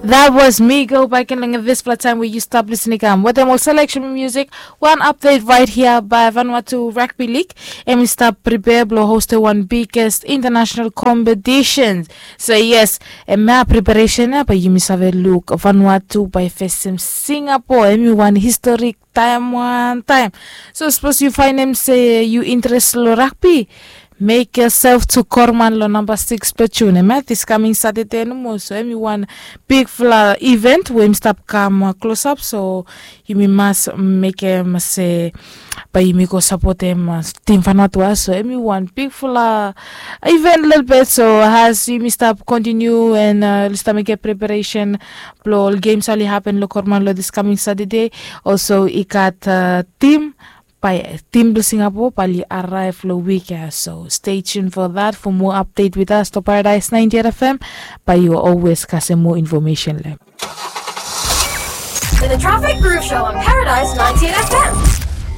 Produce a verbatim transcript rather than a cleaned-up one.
That was Migo back in long this flat time where you stop listening. Um, with them all selection music. One update right here by Vanuatu Rugby League. Em stop prepare blow host one biggest international competitions. So yes, a map preparation up, but you miss have a look. Vanuatu by first Singapore. Everyone historic time one time. So suppose you find them say you interest lo rugby. Make yourself to Korman lo number six Petune. Em this coming Saturday no more. So everyone big fla event wey stop come uh, close up. So you mi must make em say but you mi go support them uh, team Vanuatu. So everyone big fla event little bit. So as you mi stop continue and uh, stop make a preparation. Blo all games only happen lo Korman lo this coming Saturday. Also, it got uh, team by team blo Singapore bali arrive lo week ya. So stay tuned for that. For more update with us to Paradise ninety-eight F M, but you always kasih more information lem. To the Traffic Groove Show on Paradise ninety-eight F M.